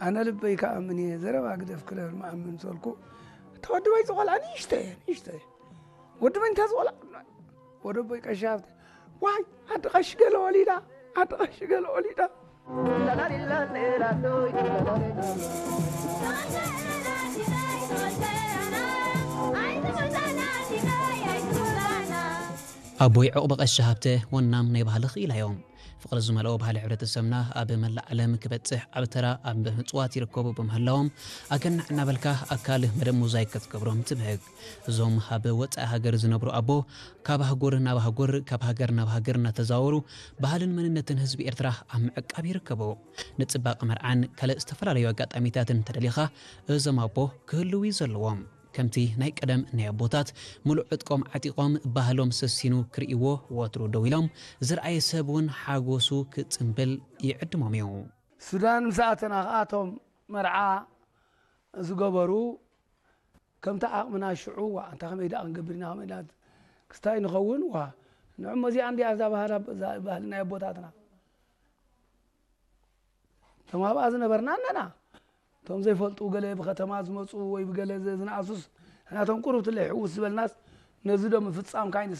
ኣነ ልበይ ከኣምን እየ፣ ዘረባ ግደፍ ክለብል መኣምን ሰልኩ። እታ ወዲ በይ ዝቖልዓ ንእሽተ እየ፣ ንእሽተ እየ። ወዲ በይ እንተ ዝቖልዓ፣ ወዲ በይ ቀሻ ሃብተ፣ ዋይ፣ ዓዲ ቀሺ ገለ ወሊዳ፣ ዓዲ ቀሺ ገለ ወሊዳ። ኣቦይ ዕቑበ ቀሺ ሃብተ ወናም ናይ ባህሊ ክኢላ እዮም። ፍቕሪ ዝመልኦ ባህሊ ሕብረተሰብና ኣብ መላእ ዓለም ክበጽሕ ዓቢ ተራ ኣብ ምጽዋት ይርከቡ ብምህላዎም፣ ኣገናዕ እናበልካ ኣካል መደብ ሞዛይክ ክትገብሮም ትብህግ። እዞም ኣብ ወጻኢ ሃገር ዝነብሩ ኣቦ፣ ካብ ኣህጉር ናብ ኣህጉር፣ ካብ ሃገር ናብ ሃገር እናተዛወሩ፣ ባህልን መንነትን ህዝቢ ኤርትራ ኣብ ምዕቃብ ይርከቡ። ንጽባቐ መርዓን ካልእ ዝተፈላለዩ ኣጋጣሚታትን እንተደሊኻ፣ እዞም ኣቦ ክህልዉ እዩ ዘለዎም። ከምቲ ናይ ቀደም ናይ ኣቦታት፣ ምሉእ ዕጥቆም ዓጢቖም፣ ባህሎም ሰሲኑ ክርእይዎ ወትሩ ደው ኢሎም፣ ዝረኣየ ሰብ እውን ሓጎሱ ክጽንብል ይዕድሞም እዩ። ሱዳን ምስ ኣተና ከኣ እቶም መርዓ ዝገበሩ፣ ከምቲ ዓቕምና ሽዑ፣ ዋ፣ እንታ ከመይ ደኣ ክንገብር ኢና፣ ከመይ ደኣ ክስታይ ንኸውን፣ ዋ፣ ንዕሞ እዚኣ እንድያ እዛ ባህላ፣ እዛ ባህሊ ናይ ኣቦታትና። እቶም ኣብኣ ዝነበርና ኣለና። እቶም ዘይፈልጡ፣ ገለ ብከተማ ዝመጹ ወይ ብገለ ዝ-፣ ዝነኣሱስ፣ ንሕና እቶም ቁሩብ ትለይ ሕውስ ዝበልናስ፣ ነዚ ዶ ምፍጻምካ